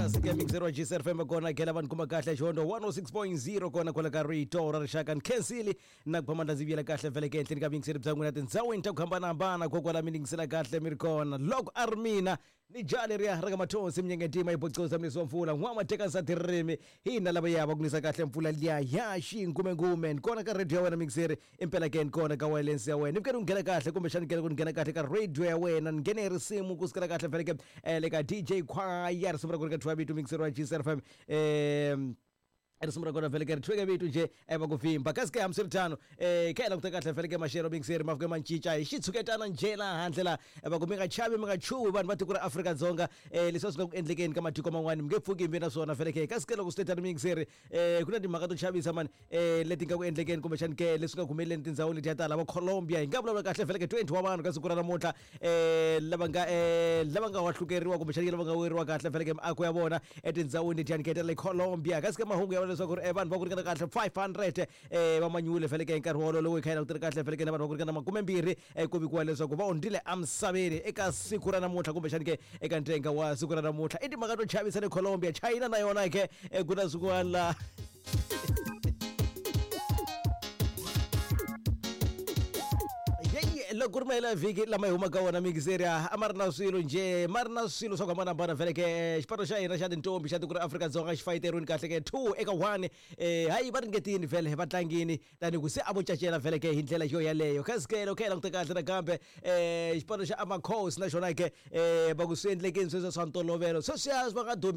Kasi ke mixer wa GCR FM kona khela vanhu kuma kahle xihondo 106.0 kona kwala ka rito ra rixaka nkhensili na ku phamandla ndzi vuyela kahle vhele ke henhleni ka vuyingiseri bya n'wina tindhawini ta ku hambanahambana kokwala mi ningisela kahle mi ri kona loko a ri mina ni jaha leriya ra ka mathonsi minyengetima yi bocosa murisi wa mpfula n'wama teka nsati ririmi hina lava ya va ku nisa kahle mpfula liya ya xingumengume ni kona ka radio ya wena mixeri impela ke ni kona ka wireless ya wena ni fike ni nghena kahle kumbexani kele ku ni nghena kahle ka radio ya wena ni nghene hi risimu ku sukela kahle vhele ke le ka DJ Khwaya risimu ra ku ri ka thwa vito mixeri wa GCR FM risimu ra kona vhele ke ri thweke vito nje va ku vhimba kasi ke hambiswiritano kha hi languta kahle vhele ke maxelo mixeri ma fike ma cinca hi xitshuketana njhe laha handle laha va ku mi nga chavi mi nga chuhi vanhu va tiko ra Afrika-Dzonga leswi a swi nga ku endlekeni ka matiko man'wani mi nge pfuki mi ve na swona vhele ke kasi ke loko swi te tano mixeri ku na timhaka to chavisa mani leti nga ku endlekeni kumbexani ke leswi nga ku humeleleni tindhawini letiya ta lava Colombia hi nga vulavula kahle vhele ke 20 wa vanhu ka siku ra namuntlha lava nga lava nga wahlukeriwa kumbexani lava nga weriwa kahle vhele ke miako ya vona etindhawini letiyani ke ta le Colombia kasi ke mahungu ya vula leswaku ri vanhu va ku ringana kahle 500 va manyule vhele ke hi nkarhi wolowo lowu hi kha hi langutele kahle vhele ke na vanhu va ku ringana makumembirhi ku vikiwa leswaku va hundzile emisaveni eka siku ra namuntlha kumbexani ke eka ntenga wa siku ra namuntlha i timhaka to chavisa le Colombia China na yona ke ku na swin'wana la Yeyi, loko ku ri mahelo ya vhiki lama hi humaka wona mixeri a ma ri na swilo njhe ma ri na swilo swa ku hambanahambana vhele ke xipano xa hina xa tintombi xa tiko ra Afrika-Dzonga xi fayiteriwini kahle ke 2 eka 1 hayi va ringetini vhele va tlangini tani ku se a vo cacela vhele ke hi ndlela yo yaleyo kasi ke loko hi languta kahle nakambe xipano xa Amakhosi na xona ke va ku swi endlekeni sweswo swa ntolovelo sweswiya va nga domi.